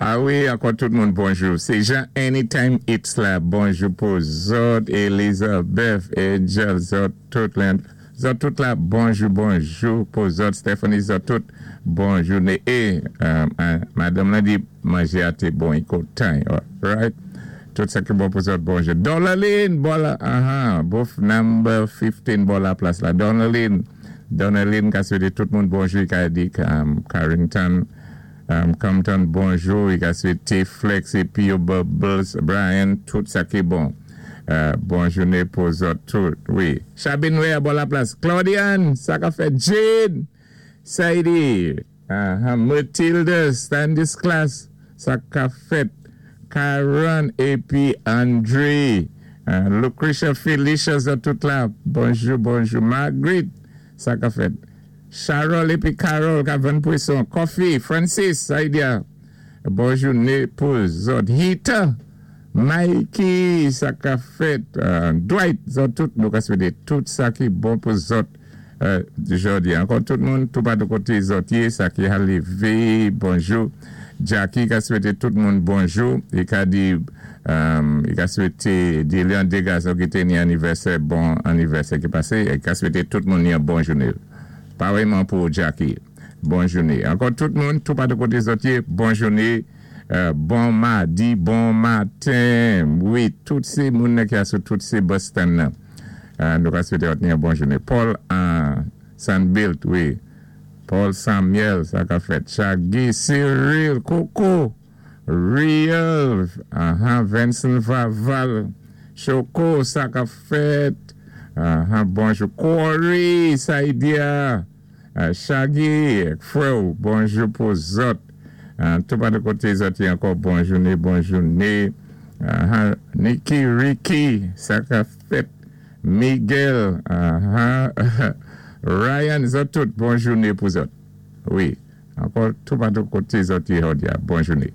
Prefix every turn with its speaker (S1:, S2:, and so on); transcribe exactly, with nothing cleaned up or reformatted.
S1: A wi, ankò tout moun bonjou. Sé Jean Anytime It's la. Bonjou pou zòt, Elizabeth, Angel, zòt tout la. Zòt tout la, bonjou, bonjou pou zòt, Stephanie, zòt tout, bonjou. É, euh, euh, madanm la di manjé a té bon, kontan, right? Tout sa ki bon pou zòt, bonjou. Donaline, bò la, uh-huh, booth number fifteen, bò la plas la. Donaline, Donaline, ka swété tout moun bonjou, i ka di um, Carrington, um, Compton, bonjou, i ka swété Flex épi yo Bubbles, Brian, tout sa ki bon. Euh, bon jouné pou zòt tout, wi. Chabinwe bò la plas. Claudiane, sa ka fèt. Jade, Saidi, uh, Matilda, Stanislas, sa ka fèt. Karen épi André, uh, Lucretia Felicia, zòt tout la. Bonjou, bonjou. Marguerite, sa ka fèt. Charles épi Carol, ka vann pwason. Coffee, Francis, Saidia. Bon jouné pou zòt. Hita, Mikey, sa ka fèt. Uh, Dwight, zòt tout, nou ka swété tout sa ki bon pou zòt. Euh, jòdi. Ankò tout moun, tout patou koté zòt yé, sa ki a lévé, bonjou. Jackie ka swété tout moun bonjou. I ka di, um, i ka swété di Leon Degas ki té ni anivèsè, bon anivèsè ki pasé, i ka swété tout moun ni yon bon jouné. Parèyman pou Jackie. Bon jouné. Ankò tout moun, tout patou koté zòt yé, bon jouné. Euh, bon madi, bon maten. Wi, tout sé moun ki a sou tout sé bus stand nan. Euh, nou ka swété ni yon bon jouné. Paul uh, Sanbilt, wi. Paul Samuel, sa ka fèt. Shaggy, Cyril, Coco, Real, uh-huh, Vincent Vaval, Choco, sa ka fèt. Uh-huh, bonjou. Corey, Saidia, uh, Shaggy, frè, bonjou pou zòt. Uh, tout patou koté zòt ankò bon jouné, bon jouné. Uh-huh, Nicky, Ricky, sa ka fèt. Miguel, uh-huh, Ryan, zòt tout, bon jouné pou zòt. Wi, ankò tout patou koté zòt bon jouné.